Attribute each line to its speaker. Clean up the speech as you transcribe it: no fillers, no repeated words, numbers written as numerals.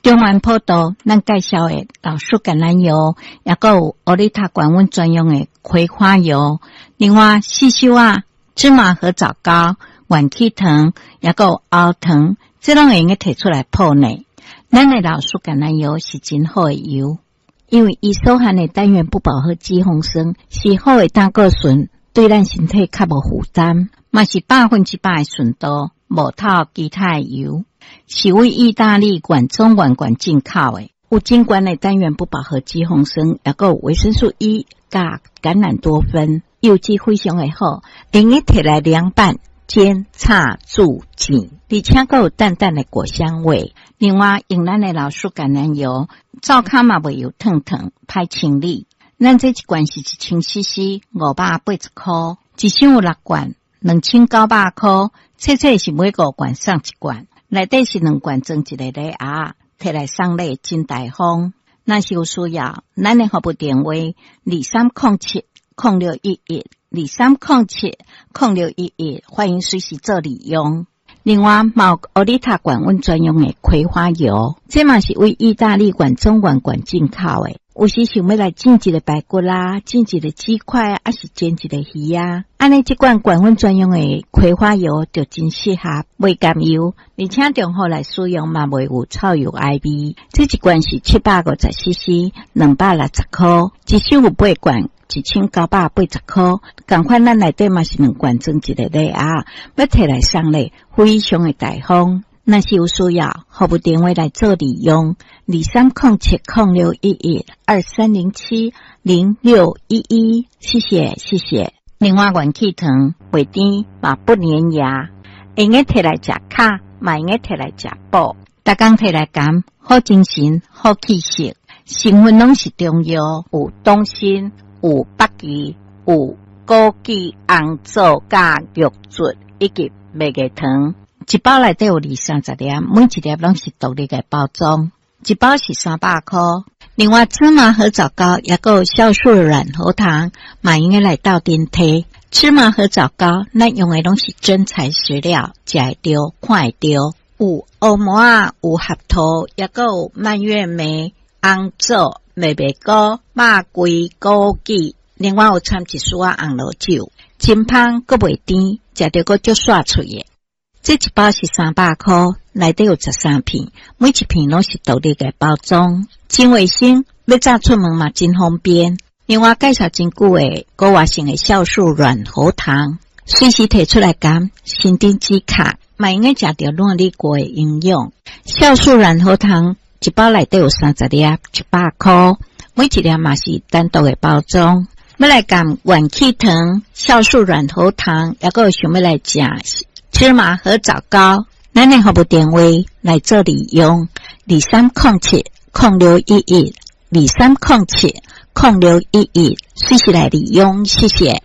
Speaker 1: 中元普渡，咱介紹的老樹橄欖油，抑閣有歐麗塔高溫專用的葵花油。另外，四修啊，芝麻核棗糕、元氣糖，抑閣有喉糖，這攏會用得提出來泡呢。咱的老樹橄欖油是真好的油，因為伊所含的單元不飽和脂肪酸是好的膽固醇，對咱身體較無負擔，嘛是100%的純度，無透其他的油。是為意大利原裝原罐進口的，有真懸的單元不飽和脂肪酸，抑閣有維生素 E 佮橄欖多酚，油脂非常的好，用得提來涼拌、煎、炒、煮、煎，而且閣有淡淡的果香味。另外，用咱的老樹橄欖油，灶跤嘛袂油燙燙，歹清理。咱這一罐是1000 CC，580箍，一箱有六罐，2900箍。冊冊是每五罐送一罐。內底是兩罐裝一個禮盒，提來送禮真大方。若是有需要，咱的服務電話2307-0611，2307-0611，歡迎隨時做利用。另外，嘛有歐麗塔高溫專用的葵花油，這嘛是為意大利原裝原罐進口的。有時想欲來煎一个排骨啦，煎一個雞塊，抑是煎一個魚啊，按呢這罐高溫專用的葵花油就真適合，袂含油，而且中午來使用嘛袂有臭油埃味。這一罐是750 CC，260箍，一箱有八罐，1980箍。仝款咱內底嘛是兩罐裝一個禮盒，欲提來送禮，非常的大方。若是有需要，服務電話來做利用：2307-0611，2307-0611。謝謝，謝謝。另外，元氣糖袂甜，嘛不粘牙，會用得提來食巧，嘛會用得提來食補。逐工提來含，好精神，好氣色，成分攏是中藥，有黨參，有北芪，有枸杞、紅棗、佮玉竹以及麥芽糖。一包內底有二三十粒，每一粒攏是獨立的包裝，一包是300箍。另外，芝麻核棗糕抑閣有酵素軟喉糖，嘛用得來鬥陣提。芝麻核棗糕，咱用的攏是真材實料，食會著，看會著。有烏麻仔，有合桃，抑閣有蔓越莓、紅棗、麥麥菇、肉桂、枸杞。另外有摻一絲仔紅露酒，真芳閣袂甜，食著閣足煞喙的。這一包是300箍，內底有13片，每一片攏是獨立的包裝，真衛生，欲早出門嘛真方便。另外介紹真久的高活性的酵素軟喉糖，隨時提出來含，新丁止咳，嘛用得食著軟裡鍋的營養。酵素軟喉糖一包內底有30粒，100箍，每一粒嘛是單獨的包裝。欲來含元氣糖、酵素軟喉糖，抑閣有想欲來食芝麻核棗糕，咱的服務電話來做利用：2307-0611，2307-0611，隨時來利用，謝謝。